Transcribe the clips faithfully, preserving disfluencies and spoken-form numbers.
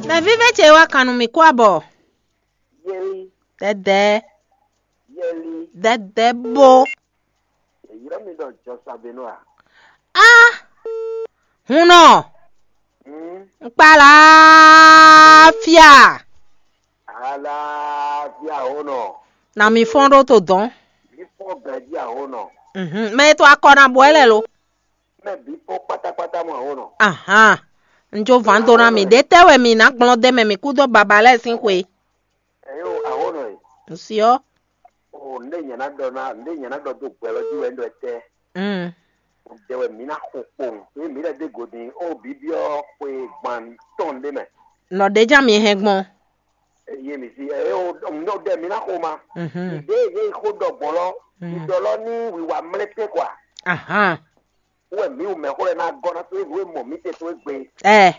Nɔví vɛ́ ce wá kan nú mì kú abɔ. Yeli, Dɛdɛ, yeli, dɛdɛ bó. Èyí mi ɖɔ jɔ Sabenu a? Á, hun nɔ, Hmm? N kpa láfíà. Aláfíà ó nɔ. Na mi fɔ́n ɖó to dɔn. Mi fɔ́n ganjí ahó nɔ. Mhm. Mɛ e to akɔ na bɔ ɛ lɛ lo. Mɛ bí fɔ́n pátápátá mɔ ahó nɔ. Ahan. N jó vǎn dó ná mi. Ɖě tɛ́ wɛ mi ná gblɔ́n dé mɛ mi kú dó baba lɛ́ɛ sín xwe? Ɛyó ahó nɔ e. N si ɔ́. O ndé nyɛ ná ɖɔ ná ndé nyɛ ná ɖɔ dó gbɛ lɔ jí wɛ ń ɖɔ tɛ. Mm. O dɛ wɛ mi ná xo kpowun. Eye mi lɛ dé godi o bibiɔ xwe gban tɔn ɖé mɛ. Nɔ ɖé já mi hɛn gbɔn. Eye mi si eye o ndɔ dɛ mi ná xo ma. Mhm. Ìdè ye xo ɖɔ gbɔn lɔ. Mm. Ìdɔ lɔ ní wìwà mlɛtɛ kwa. Ahan. Wɛ mi wù mɛ xó lɛ ná gɔ́ ná tó ewu e mɔ mi te tó egbe. Ɛ.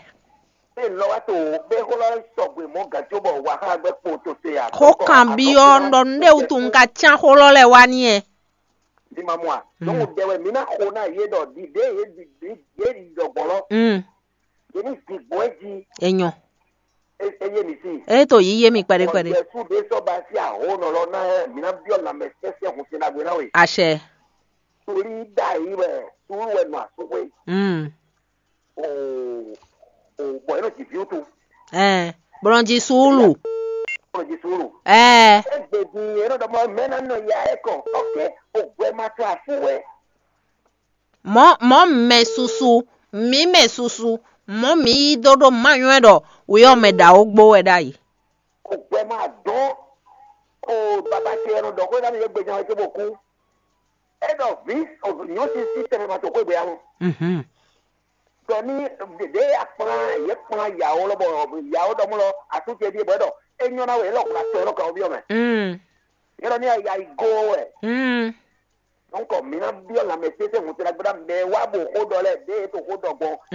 Bẹ́ẹ̀ lọ wá tó bẹ́ẹ̀ xó lɔ sɔgbe mɔ gàtó bɔ wà á gbẹ́ kpó tó se à. Xó kan byɔ́ ɖɔ nɖé wutu un ka cyán xó lɔ lɛ wá ní ɛ. Bí ma mɔ a. Hmm. Dɔnku dɛ wɛ mi ná xo ná yé ɖɔ ɖiɖe yé ɖi yé ɖi ɖɔ gbɔn lɔ. Mm. Yé ní di gbɔn ɛ jí. Enyɔ. E e yé mi si. E to yí yé mi kpɛɖé kpɛɖé. Yɛsu ɖe sɔ ba sí ahó nɔ lɔ ná ɛ mi ná byɔ lamɛ sɛsɛ hun sin ɖagbe ná we. Àṣẹ. Torí dá yí wɛ sùúrù wɛ nɔ àsúnwé. Mm. O o bɔ yɛn nɔ dzi viwú to. Ɛɛ, bɔ nɔ dzi suúlu. Bɔ nɔ dzi suúlu. Ɛɛ. Egbe di yɛn nɔ dɔmɔ mɛ na nɔ ya ɛ kɔ. Ok, o gbɛ ma to afú wɛ. Mɔ mɔ mɛ susu, mǐ mɛ susu, mɔ mǐ yí dó ɖó ma nywɛ ɖɔ wǔyɔ mɛ ɖawo gbó wɛ ɖ'ayǐ. O gbɛ ma dɔn. O baba ce yɛn nɔ dɔ xó ná mi yɛ gbɛ jan wɛ tó bɔ kú. E ɖɔ vi nyɔ̌ sísí tɛnmɛ ma to xwé gbé ya mɔ. Mhm. Ɖɔ ní ɖeɖe akplá yě kplá yàwó lɔ bɔ yàwó ɖɔ mú lɔ asúnce ɖíe bɔ é ɖɔ é nyɔ́ ná wɛ é lɔ kplá tɔ é lɔ kawó byɔ́ mɛ. Mm. É ɖɔ ní ya yi go wɛ. Mm. Donc mi ná byɔ́ lanmɛ sésé ŋutsu ná gbéra mɛ wá bo xó ɖɔ lɛ ɖe é to xó ɖɔ gbɔn